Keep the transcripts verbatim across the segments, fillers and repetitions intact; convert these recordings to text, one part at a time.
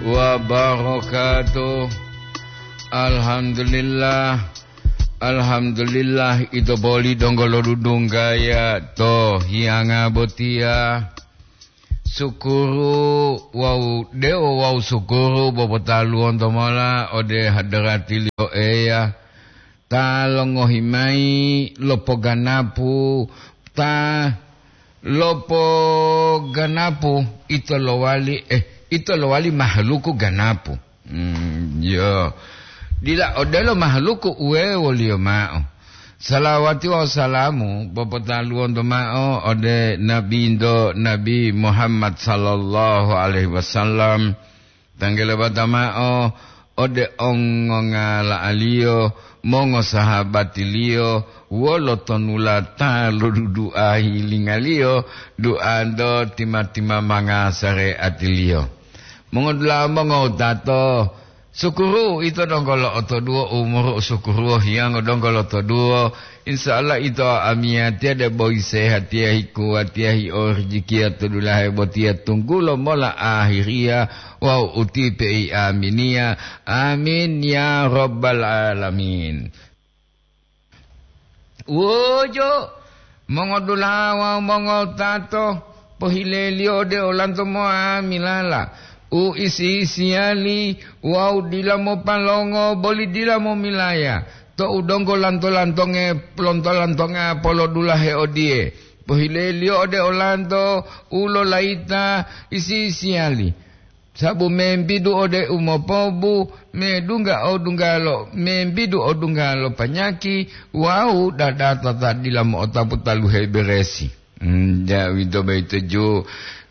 Wabarakatuh. Alhamdulillah. Alhamdulillah, ito boli donggo lodudunggaya to hiyanga botiya. Sukuru wawu dewo wawu sukuru bopotaluwonto mola ode hadarati liyo Eya, ta longohi mayi lopoganapu, ta lopoganapu ito lowali, eh, ito lowali mahaluku ganapu. Hmm, yo. Dila odelo mahaluku uwe woliyo mao. Salawati wawu salamu popotaluwonto mao ode Nabinto Nabi Muhammad sallallahu alaihi wasallam. Tanggele bata mao ode ongongala'aliyo, mongosahabatiliyo, wolo tonulata loduduahi lingaliyo, duanto tima-timamanga sareatiliyo. Mongodula'a mongowutato, sukuru ito donggo lo'otoduwo umuru u sukuruwo hiyango donggo lotoduwo. Insya Allah ito amiyatiya debo isehatiya hikuwatiya hi'o rijikiya to dulahe botiya tunggulo mola ahiriya wawu utipe i aminiya. Amin ya rabbal alamin. Wojo, mongodula'a wawu mongotato, pohileliyo ode olanto mo'amilala u isi-isiyali wawu dila mopalongo boli dila momilaya, to'u donggo lanto-lantonge, lonto-lantonga polodulahe odiye, pohileliyo ode olanto u lolayita isi-isiyali. Sabu membidu ode umopobu, medungga odunggalo, membidu odunggalo panyaki wawu dadata ta dila mo'otapu taluhe beresi. Hmm, ja, uwito boyito ju,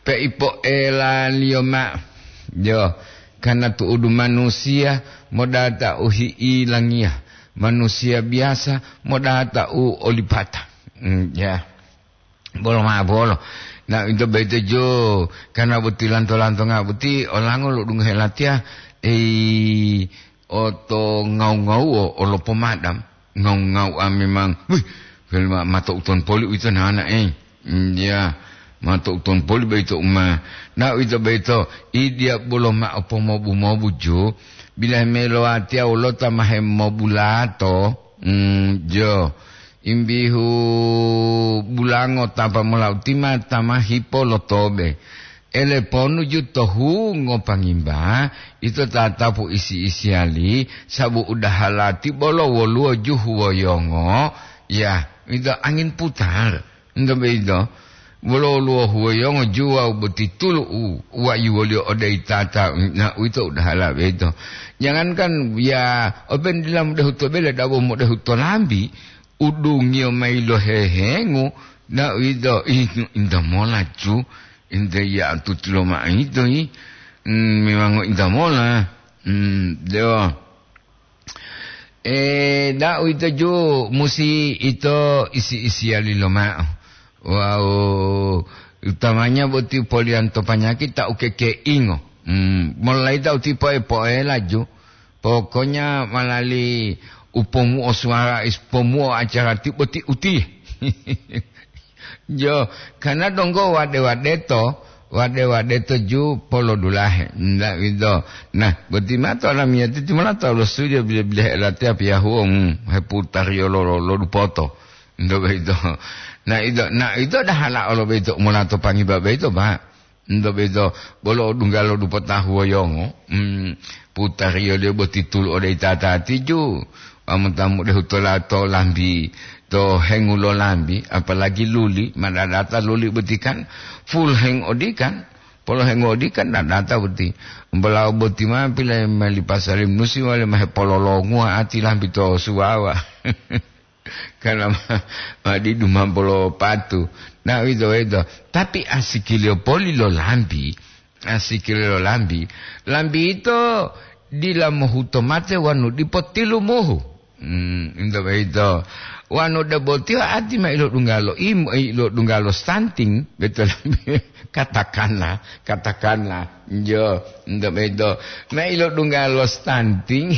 peipoelaliyo mao. Jo, karna tu'udu manusiya modata u hi'ilangiya, manusiya biyasa modata u olipata. Hmm, ja. Bolo ma'o bolo. Na, ito boyito jo, karna boti lanto-lantonga boti, olango lo'odungohe latiya, ei, oto ngau-ngauwo, olo pomadam. Ngau-ngau'a memang, wih, ma-, mato uton poli uwito nana, ei. Mm, ya, mato uton poli boyito uma. Na, ito boyito, idiya bolo ma'o pomobu-mobu ju, bilahe melo watiya wolota mahe mobulato, mm, jo. Imbihu bulango tapa mola utima tama hipo lo tobe. Ele ponu ju to hungo pangimba, ito tatapu isi-isiyali, sabu udahalati bolo woluwo ju huwoyongo, ya, ito angin putar. Ento boyito, wolo woluwo huwoyongo ju wawu boti tulu u wayiwoliyo ode itata, na uwito udahala boyito. Jangankan ya, openu dila modehu to bele, dabo modehu to lambi, udungiyo mayi lo hehengu, na uwito, ih, inta mola ju, inta ya tuti lo ma'o ito, ih. Hmm, memango inta mola. Hmm, dewa. Eh, da uwito ju musi ito isi-isiyali lomao. Wawu utamanya boti poliyanto panyaki ta ukekeingo. Hmm, molaita uti poe-poela ju. Pokoknya malali upomuo suara is-, pomuo acara ti boti uti. Jo, karena donggo wade-wadeto, wade-wadeto ju polodulahe. Nda wito. Nah, boti mato lamiyati timola tawu lo studio bile-bilehe latiya piyahuo, hmm, heputariyo lo, lo, lo dupoto. Ndo boyito. Na ito, na ito dahala olo boyito, molato pangiba boyito, Pak. Ento boyito bolo odunggalo dupo tahuwoyongo, hmm, putariyoliyo boti tulu ode itatati ju, wawu mota mudehu tola to lambi, to hengu lo lambi, apalagi luli, ma dadata luli boti kan, full heng odikan, polo hengu odikan dadata boti. Umbalawo boti ma pile meli pasali musi wale ma hepololonguwa ati lambi to suwawa. Karena ma-, madidu ma bolo patu. Na, uwito-wito. Tapi asikiliyo poli lo lambi, asikiliyo lo lambi, lambi yito dila mohuto mate wonu dipo tilumuhu. Hmm, ento boyito. Wonu debo tiyo ati ma ilodunggalo im-, ilodunggalo stunting, betul. Katakanlah, katakanlah. Jo, ento boyito. Ma ilodunggalo stunting.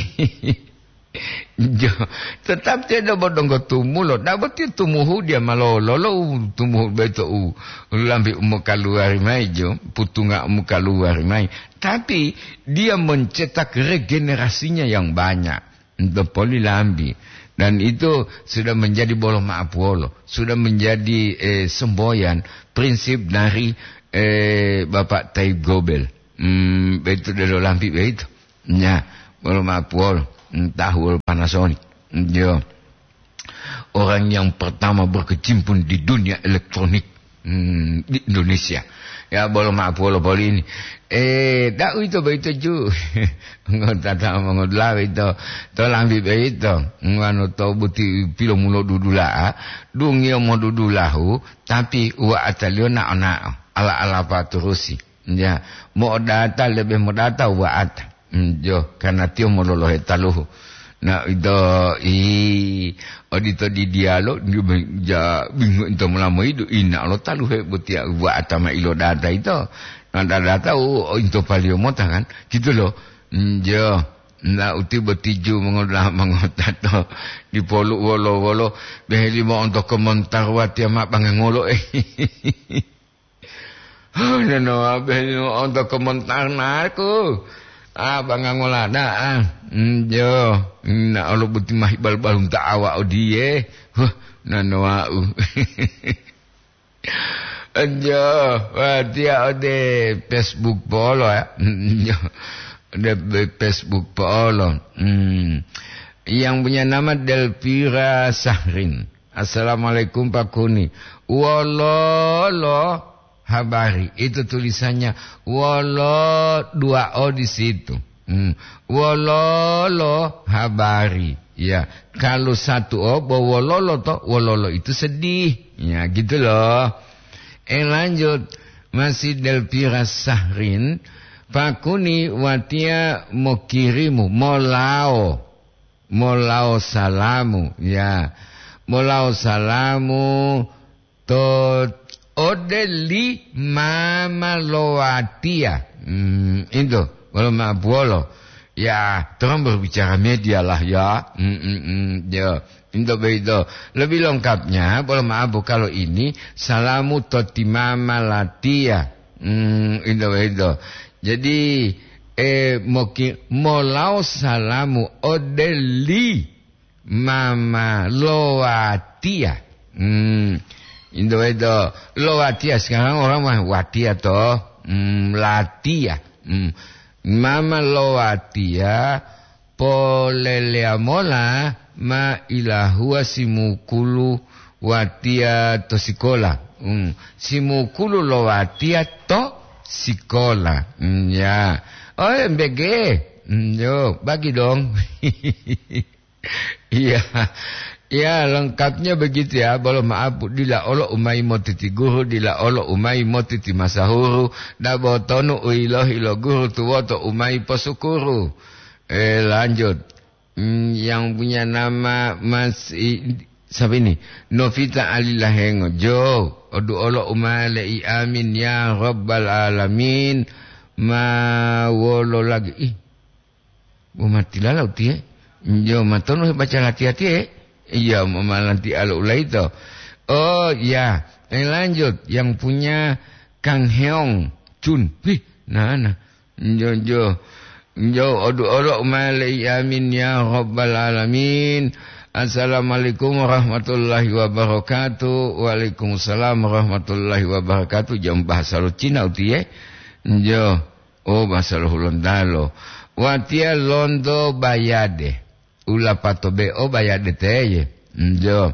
Jo, tetap tiyo donggo-donggo tumulo. Dabo tiyo tumuhu dia malolo lo u tumuhu beto u lambi u mokaluwari mayi jo, putunga u mokaluwari mayi. Tapi dia mencetak regenerasinya yang banyak. Untuk poli lambi. Dan itu sudah menjadi bolo maapuwolo. Sudah menjadi, eh, semboyan prinsip dari, eh, Bapak Taib Gobel. Hmm, begitu delo lambi begitu. Ya, bolo maapuwolo. Hmm, tahu wolo Panasonic. Hmm, yo. Orang yang pertama berkecimpung di dunia elektronik, hmm, di Indonesia. Ya, bolo maapuwolo poli ini. Eh, da'u ito boyito ju. Ngota ta mongodula'a ito. To lambi boyito. Ngwano to buti pilomulo dudula'a. Dungiyo modudulahu, tapi wa'ataliyo nao-nao. Ala-ala paturusi. Ya, mo'odata lebe modata wa'ata. Mm, jo, karena tiyo mololohe taluhu. Na ito i odito di dialo, ja, bingung ito molamoidu, ina lo taluhe botiya wa'ata ma ilodata ito. Na dadata u, o into paliyo mota kan, gitu lo. Mm, jo, na uti botiju mongoda-, mongota to dipolu wolo-wolo, beheli mo onto komentar watiya ma bangangolo, eh. Nenowa benu onto komentar naku. Ah, bangga ngolada, ah. Mm, jo, na olo buti mahi bal-balunta awa odiye. Huh, nanowa'u. Jo, watiya ode Facebook polo ya. Jo, ode be-, Facebook polo. Hmm. Yang punya nama Delvira Sahrin. "Assalamualaikum, Pak Kuni. Wololo habari?" Itu tulisannya wolo dua o di situ. Hmm. Wololo habari. Ya, kalau satu o, bo wololo to, wololo itu sedih. Ya, gitu loh. Eh, lanjut. Masih Delvira Sahrin, Pak Kuni, watiya mokirimu, molao. Molao salamu, ya. Molao salamu to ode li mama lo watiya. Hmm, into, wolo ma'apuwolo. Ya, tolong berbicara media lah ya. Hmm, hmm, hmm, ya. Into begitu. Lebih lengkapnya, bolo ma'apu kalau ini, salamu to ti mama latiya. Hmm, into begitu. Jadi, eh, moki-, molao salamu ode li mama lo watiya. Hmm, into begitu. Lo watiya, sekarang orang mah watiya to. Hmm, latiya. Hmm. Mama lo watiya, poleleya mola ma ilahuwa simukulu watiya to sikola. Hmm. Simukulu lo watiya to sikola. Hmm, ya. Oh, M B G. Hmm, yo, bagi dong. Iya. Ya, lengkapnya begitu ya. Bolo maaf, dila olo umai motiti guru, dila olo umai motiti masahuru, dabo tonu uilohi lo guru tuwoto umai posukuru. Eh, lanjut. Hmm, yang punya nama Mas i-, siapa ini? Novita Ali Lahengo. Jo, odu olo umale i amin ya rabbal alamin. Ma wolo lagi? Ih, bo matilala utiye. Jo, matonu hebaca lati-latiye? Iya, ma-, malanti alo ulaito. Oh, ya. Eh, lanjut. Yang punya Kang Heong Chun. Wih, nana. Njo, njo. Njo, odu olo umale i amin ya rabbal alamin. Assalamualaikum warahmatullahi wabarakatuh. Waalaikumsalam warahmatullahi wabarakatuh. Jam bahasa lo Cina utiye. Njo. Oh, bahasa lo Hulontalo. Watiya lonto bayade. Ulapato be o bayade teye. Njo.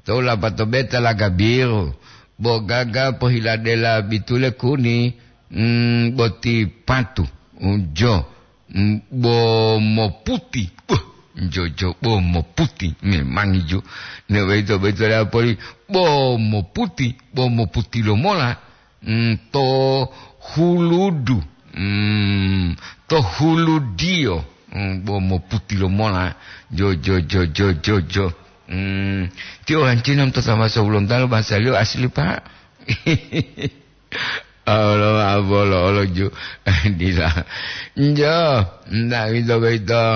To ulapato be talaga biru. Bo gaga pohiladela bitule kuni, mm, boti patu. Njo. Mm, bo moputi. Buh, njo, jo, bo moputi. Memang ijo. Ne boyito, boyito la poli. Bo moputi. Bo moputi lo mola. Mm, to huludu. Mm, to huludiyo. Mm, bo moputi lo mola. Jo, jo, jo, jo, jo, jo. Mm, tiyo hancina to sama sebelum talo bahasa liyo asli, Pak. Allah, abolo, olo ju. Dila. Njo, ndak gitu, gitu.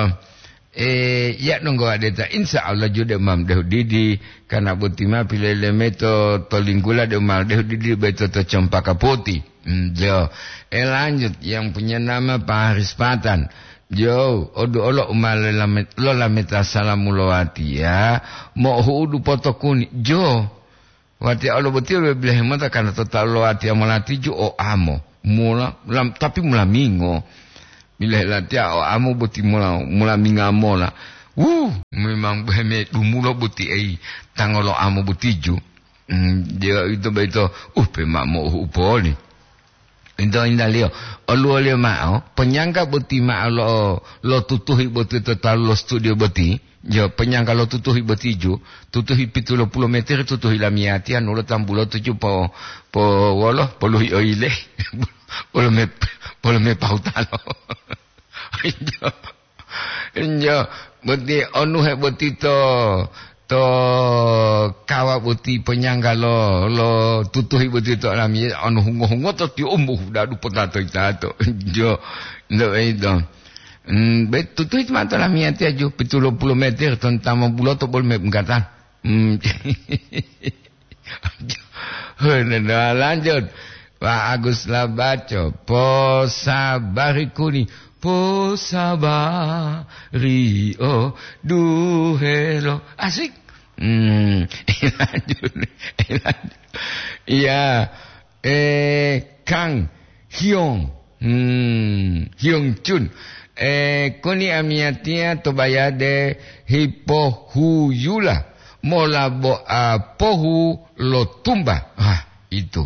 Eh, ya nunggu adeta, insya Allah ju de mam dehu didi, karena boti ma pilele meto to linggula de mal dehu didi beto to cempaka putih. Hmm, jo. Eh, lanjut, yang punya nama Pak Haris Patan. Jo, odu olo umale lamet, lo lameta salamu lo ati ya. Mo huudu potokuni. Jo. Watiya olo boti lo bilahe mota karena to talu lo watiya molati ju o amo. Mula, lam-, tapi mula mingo. Bilahe latiya o amo boti mula, mula minga mola. Wuh, memang beme dumulo boti ei tango lo amo boti ju. Hmm, dia itu baito, uh, pe ma mo upoli. Ento indaliyo, oluwoliyo ma'o, ponyangga boti ma'o lo, lo tutuhi boti to talu lo studio boti. Jo, ponyangga lo tutuhi boti ju, tutuhi pitu lo pulo meter, tutuhi lamiyatiya, nulo tambulo tuju po, po wolo, poluhi oile, polo me, polo me pahutalo. Jo. Injo, boti onuhe boti to, to kawa boti ponyangga lo, lo tutuhi boti to lami, onu hungo-hungo to ti umbu dadu potato itato. Injo, ndo ito. Hmm, be tutuhi ma to lami ati aju, pitu lo pulo meter, ton tama bulo to bol me mengkata. Hmm. Nah, lanjut. Pak Agus Labaco, posabari kuni, posabari o duhelo. Asik. Hmm, lanjut, lanjut. Iya, eh, Kang Hyong. Hmm, Hyong Chun. Eh, kuni amiyatiya to bayade hipohuyula mola bo apohu lo tumba. Ah, itu.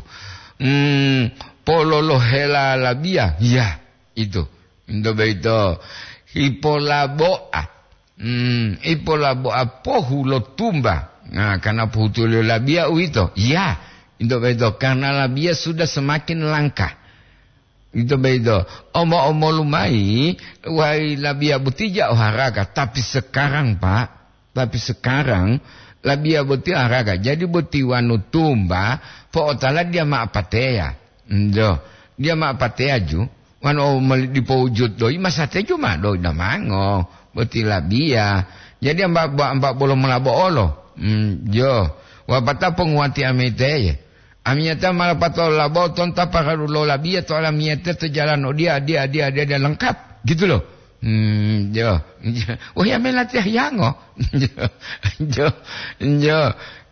Hmm, pololohela labiya. Ya, itu. Ento boyito hipolabo'a. Hmm, hipolabo'a pohu lo tumba. Nah, karena pohutuliyo labiya uwito. Ya, ento boyito karena labiya sudah semakin langka. Ito boyito, omo-omolu mayi, wayi labiya boti ja o haraga, tapi sekarang, Pak, tapi sekarang labiya boti haraga. Jadi boti wanu tumba, po'otala dia ma pateya. Njo, dia ma pateya ju, wanu mali dipo wujud doyi, masate ju ma doyi damango, boti labiya. Jadi amba, amba bolo molabo olo. Hmm, jo, wapata ponguwati amiteye. Amiyatiya ma lapatao labo tonta paralu lo labiya to olamiyatiya to jalan odiya, adiya, adiya, adiya, adiya, lengkap, gitu loh. Hmm, jo. Wah, ya melatiya hiyango. Jo, jo.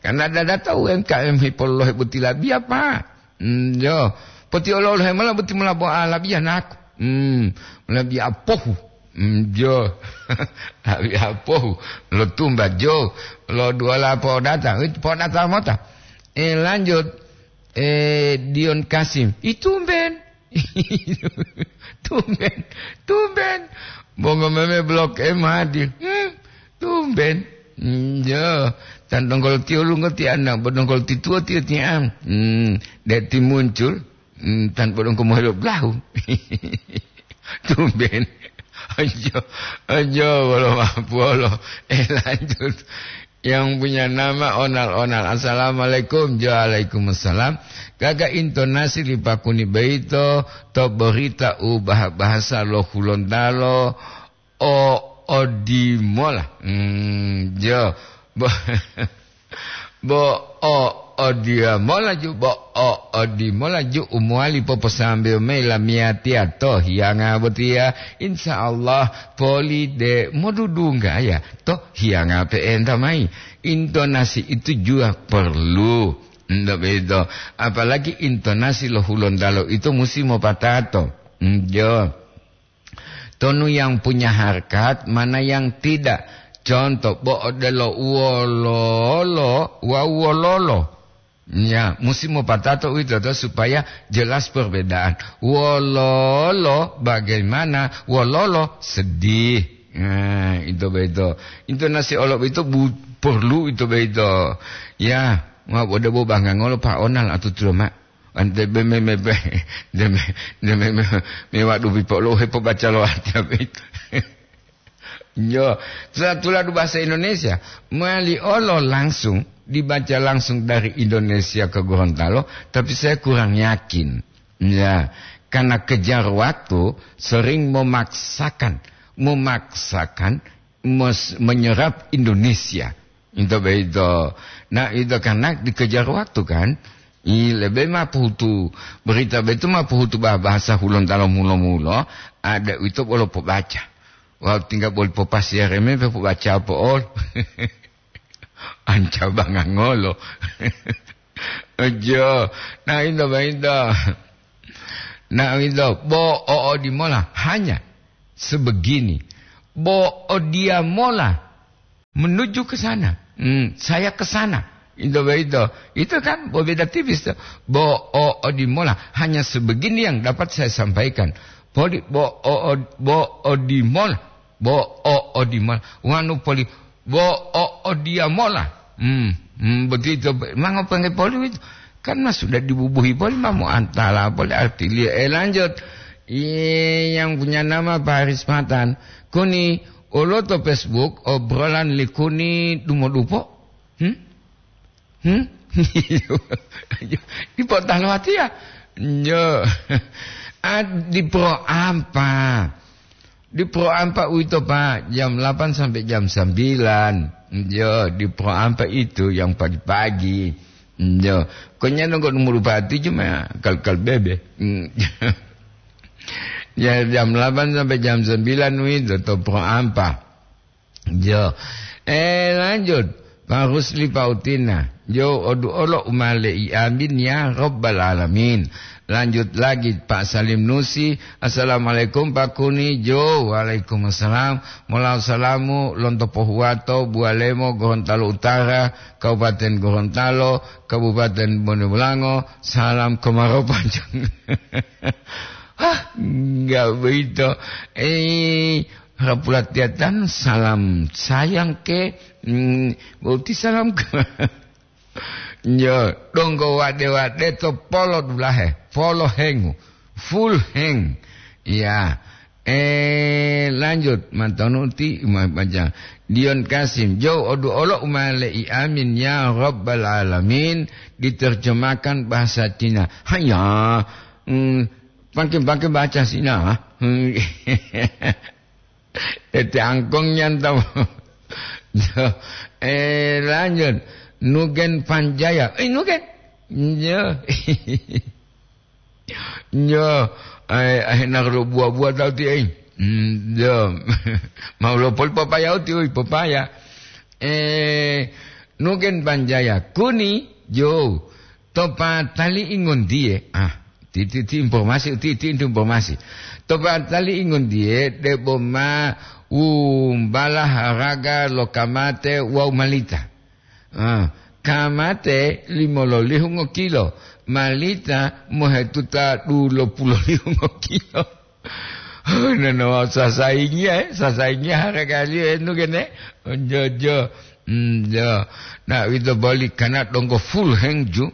Karena dada tahu U M K M hipolohe boti labiya, Pak. Hmm, jo. Poti olo-olohe mola boti mola bo a labiya naku. Hmm, labiya pohu. Hmm, jo. Labiya pohu. Lo tumba, jo. Lo duwala podata. Wit podata mota. Eh, lanjut. Eh, Dion Kasim. Ih, tumben. Tumben. Tumben. Bongo meme Blok M hadir. Hmm, tumben. Hmm, jo. Tan dongkol tiyo lungo ti anak, bo dongkol ti tuwo tiyo ti am. Hmm, dek ti muncul. Hmm, tan bo dongkol mohelo blahu. Tumben. Ajo, ajo, bolo mapuolo. Eh, lanjut. Yang punya nama Onal-Onal. Assalamualaikum. Waalaikumsalam. Gaga intonasi li pakuni boyito to berita u bah-, bahasa lo Hulontalo o odimola. Hmm, jo. Bo-, bo o odimola ju, bo o odimola ju u mowali poposambeyo mayi lamiyatiya to hiyanga botiya. Insya Allah, poli de modudunggaya to hiyanga pe'enta mayi. Intonasi itu juga perlu. Ndak begitu. Apalagi intonasi lo Hulontalo itu musi mopatato. Njo. Tonu yang punya harkat, mana yang tidak. Contoh, bo odelo wololo wawu wololo. Ya, musi mopatato uwito to supaya jelas perbedaan. Wololo bagaimana, wololo sedih. Nah, itu begitu. Intonasi olo itu bu-, perlu itu begitu. Ya, ma bo debo bangga ngolo Pak Onal atutulo, Mak. Ante be me, me, be, de me, de me, me, me waduh pipo lo hepobaca lo ati apa itu. Yo, setelah tuladu bahasa Indonesia, mali olo langsung, dibaca langsung dari Indonesia ke Gorontalo, tapi saya kurang yakin. Ya, karena kejar waktu, sering memaksakan, memaksakan mos-, menyerap Indonesia. Itu begitu. Nah, itu karena dikejar waktu, kan. I, lebih mah pohutu, berita begitu mah pohutu bah-, bahasa Hulontalo mulo-mulo, ada itu bolo pobaca. Wau tinggal boli popasiare me pe pobaca po'ol. Anca bangangolo. Ojo. Nah, itu begitu. Nah, itu. Bo o odimola hanya sebegini. Bo o diamola menuju ke sana. Hmm, saya ke sana. Itu begitu. Itu kan berbeda tipis tuh. Bo o odimola hanya sebegini yang dapat saya sampaikan. Poli bo o, o, bo odimola. Bo o odimola. Wanu poli bo o odiamola. Hmm, hmm, begitu. Mango pengge poli itu. Kan mas sudah dibubuhi poli, mau antala poli artilia. Eh, lanjut. Iya, yang punya nama Pak Haris Matan. Kuni, olo to Facebook, obrolan likuni dumodupo? Hmm? Hmm? Di potalo hati ya? Yo. Ah, di pro ampa. Di pro ampa uito, Pak, jam delapan sampai jam sembilan. Yo, di pro ampa itu yang pagi-pagi. Yo. Konya nunggu nomor bupati cuma kal-kal bebe. Hmm. Ya, jam delapan sampai jam sembilan uito to pro ampa. Jo. Eh, lanjut. Pak Rusli Pautina. Jo, odu olo umale i amin ya Rabbal Alamin. Lanjut lagi, Pak Salim Nusi. Assalamualaikum, Pak Kuni. Jo, waalaikumsalam. Mola salamu, lonto Pohuwato, Bualemo, Gorontalo Utara, Kabupaten Gorontalo, Kabupaten Bonebulango. Salam kemarau panjang. Hah, enggak begitu. Eh, Rapulatiatan salam sayang ke, mm, boti salam ke. Yo, donggo wade-wade to polo dulahe, polo hengu, full heng. Ya. Eh, lanjut, mantonu ti, ma-, baca. Dion Kasim, jo odu olo umale i amin ya Rabbal Alamin, diterjemahkan bahasa Cina. Hanya, mm, pakai-pakai bahasa Cina. Hmm. Ete angkong nyantap. Eh, lanjut. Nugen Panjaya. Eh, Nugen. Yo. Yo. Eh, eh, nak lo buah-buah tau ti, eh. Hmm, yo. Mau lo pol papaya uti, oi, papaya. Eh, Nugen Panjaya. Kuni, yo. To patali ingondiye, ah, ti, ti, ti informasi, ti, ti, ti informasi. To patali ingondiye, debo ma wumbala haraga lo kamate wawu malita. Ah, kamate limololihu ngokilo, malita mohetuta dulopulolihu ngokilo. Nono sasaingiya, eh, sasaingiya haragaliyo enu gene. Ojo, ojo. Hmm, jo. Nah, wito boli kana donggo full heng ju.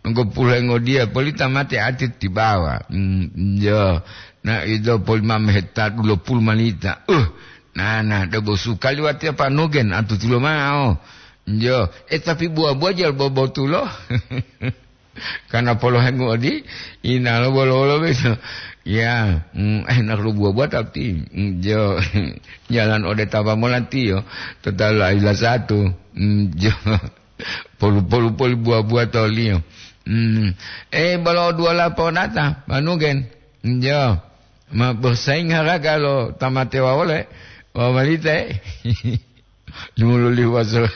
Donggo full heng odiya, poli tamate ati tibawa. Hmm, jo. Nah, ito poli mame heta dulopulu malita. Uh, nah, nah, debo sukali watiya panugen atu tulo mao. Jo. Eh, tapi buah-buah jal bobotulo. Karena polohengu odi, inalo bolo-bolo beto. Ya, mm, eh, nak lu buah-buah tapi, mm, jo, jalan ode tapa molantiyo, total aila satu, mm, jo, polu-polu poli buah-buah toliyo. Mm. Eh, bolo dua lapo nata, manugen, mm, jo, ma bersaing haraga lo tamate wawole, wawalite. Jumululihuwa so,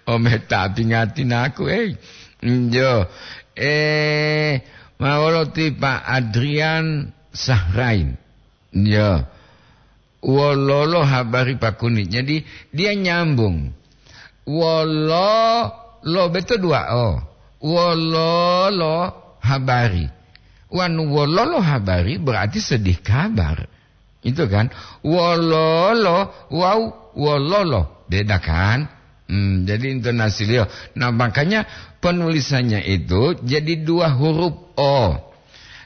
ome tapi ngati naku, eh. Njo. Eh, ma wolo ti Pak Adrian Sahrain. Njo. Wololo habari Pak Kuni. Jadi, dia nyambung. Wolo, lo beto dua o. Wololo habari. Wanu wololo habari berarti sedih kabar. Itu kan, wololo wawu wololo, beda kan? Hmm, jadi intonasiliyo. Nah, makanya penulisannya itu jadi dua huruf o.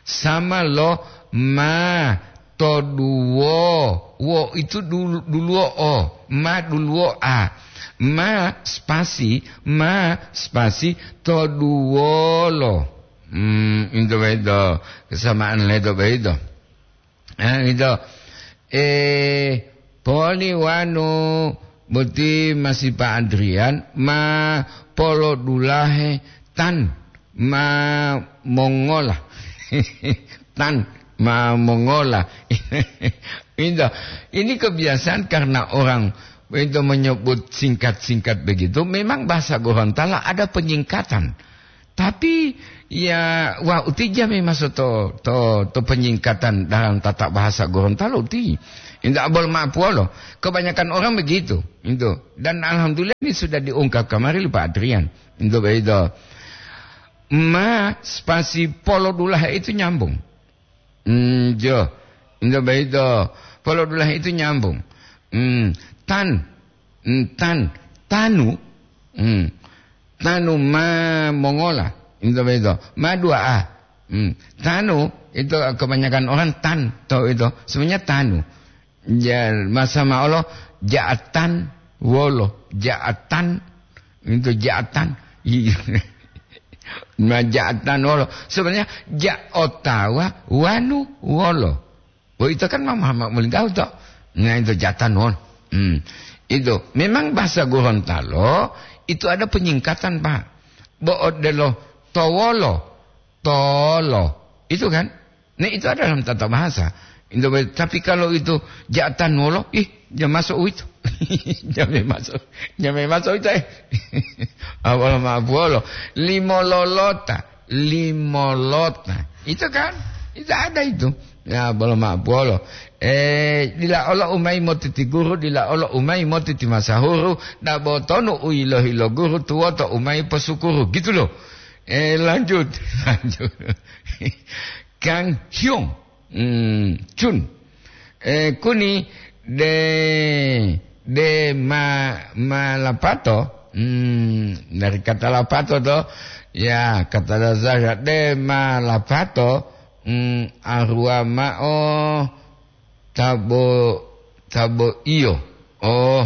Sama lo ma to duwo. Wo itu dulu, duluwo o. Ma duluwo a. Ma spasi, ma spasi to duwolo. Hmm, itu begitu. Kesamaan leto begitu. Eh, gitu. Eh, poli wanu Boti masih Pak Adrian, ma polodulahe tan ma mongola. Tan ma mongola. Itu. Ini kebiasaan karena orang itu menyebut singkat-singkat begitu. Memang bahasa Gorontalo ada penyingkatan. Tapi, ya, wah, uti jami maso to, to, to penyingkatan dalam tata bahasa Gorontalo uti. Indak bol ma'apuwolo. Kebanyakan orang begitu. Itu. Dan alhamdulillah ini sudah diungkap kemarin Pak Adrian. Itu begitu. Ma spasi polodulahe itu nyambung. Hmm, jo. Into beito. Polodulahe itu nyambung. Hmm, tan. Hmm, tan. Tanu. Hmm. Tanu ma mongola. Into beito. Ma dua a. Hmm. Tanu itu kebanyakan orang tan to itu. Sebenarnya tanu. Ja, masa maolo ja'atan wolo. Ja'atan. Itu ja'atan. Iya. Ma ja'atan wolo. Sebenarnya ja otawa wanu wolo. Oh, itu kan mama, mama melintau to. Nah, itu ja'atan wolo. Hmm. Itu memang bahasa Gorontalo itu ada penyingkatan, Pak. Bo odelo towolo, tolo. Itu kan? Nah, itu ada dalam tata bahasa. Itu, tapi kalau itu ja'atan wolo, ih, ja masuk itu. Ja masuk. Ja masuk itu, eh. Apa maaf wolo. Limo lolota, limo lota. Itu kan? Itu ada itu. Ya, bolo maaf wolo. Eh, dila olo umai motiti guru, dila olo umai motiti masahuru, dabo tonu uilo-hilo guru, tuwoto umai posukuru. Gitu loh. Eh, lanjut. Lanjut. Kang Hyung, hmm, Chun. Eh, kuni de, de ma, ma lapato, hmm, dari kata lapato to, ya, kata dasar de ma lapato, hmm, arua ma'o tabo, tabo iyo. Oh,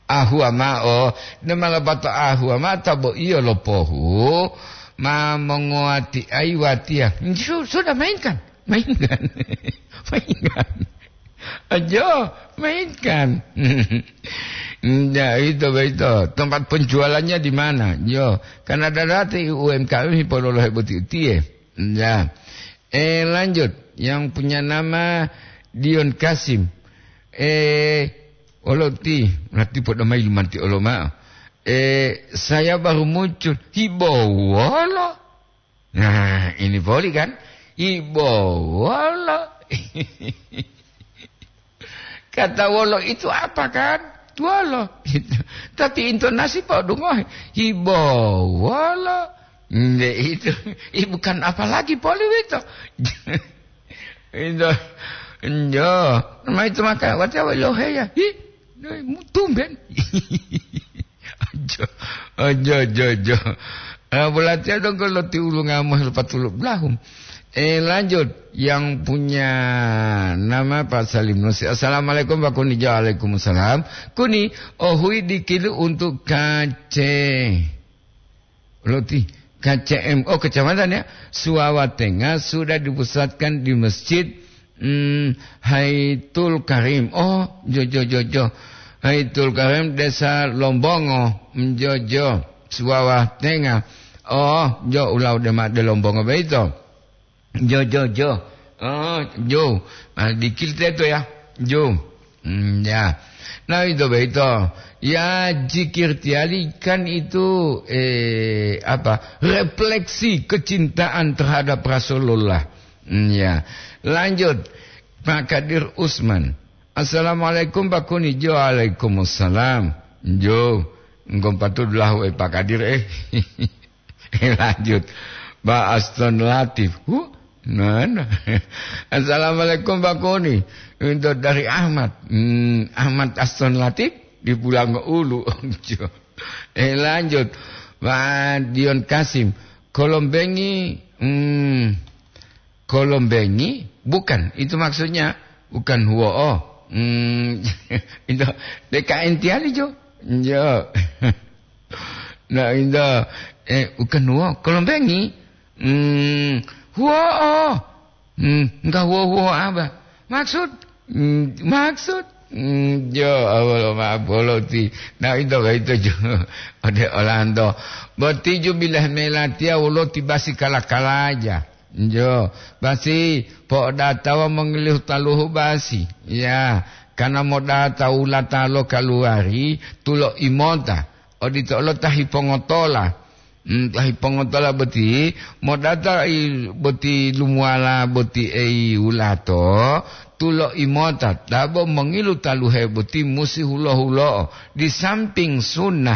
Ahuwa ma'o, ne malapato ahuwa ma'o ta bo iyo lo pohu, ma mongowatia watiya. Su-, sudah mainkan, mainkan, mainkan. Ajo, mainkan. Ya, itu, itu. Tempat penjualannya di mana? Yo, karena ada rati U M K M hipololohe boti utiye. Ya. Eh, lanjut. Yang punya nama Dion Kasim. Eh, Olo ti, berarti podo mayi lumanti olo ma'o. Eh, saya baru muncul. Hibowolo. Nah, ini poli kan? Hibowolo. Kata wolo itu apa kan? Tuwolo. Tapi intonasi podo ngohe. Hibowolo. Nde itu. Ih, bukan apa lagi poli wito. Injo, injo. Ma itu maka, watiya welo heya. Hi, tumben. Ajo, ajo, ajo, ajo. Ah, bulatiya dong kalau ti ulunga mo lepat uluk belahum. Eh, lanjut. Yang punya nama Pak Salim Nusi. Assalamualaikum, Pak Kuni. Waalaikumsalam. Kuni, ohui dikilu untuk kace. Loti, K C M, oh, kecamatan ya, Suwawa Tengah sudah dipusatkan di Masjid, hmm, Haitul Karim. Oh, jo, jo, jo, jo. Haitul Karim, Desa Lombongo, hmm, jo, jo, Suwawa Tengah. Oh, jo, ulau dema de Lombongo beito. Jo, jo, jo. Oh, jo. Ah, dikil teto ya. Jo. Hmm, ya. Nah, itu begitu. Ya, zikir tiali kan itu, eh, apa, refleksi kecintaan terhadap Rasulullah. Hmm, ya. Lanjut, Pak Kadir Usman. Assalamualaikum, Pak Kuni. Jo, waalaikumsalam. Jo, engkau patut lahu, eh, Pak Kadir, eh. Lanjut. Pak Aston Latif. Huh? Mana? Assalamualaikum, Pak Kuni. Itu dari Ahmad. Hmm, Ahmad Aston Latif di Pulang Ulu. Eh, lanjut. Pak Dion Kasim. Kolombengi, hmm, Kolombengi? Bukan. Itu maksudnya bukan huwo'o. Hmm, itu D K N tiali, jo. Jo. Nah, inda, eh, bukan huwo, Kolombengi. Hmm, huwo, oh. Hmm, enggak huwo-huwo apa? Maksud? Hmm, maksud? Mm, jo, awolo ma'o bolo ti. Na ito boyito jo. Ode olanto. Boti ju bilah melatiya wolo ti basi kala-kalaja. Jo, basi po'odatawa mongilihu taluhu basi. Ya, kana modata wulata lo kaluwari tulo imota. Odito olo ta hipongotola. Hmm, ta hipongotola boti, modata i-, boti lumuwala boti ei wulato, tulo imota, tabo mongilu taluhe boti musi hulo-hulo'o, di samping sunnah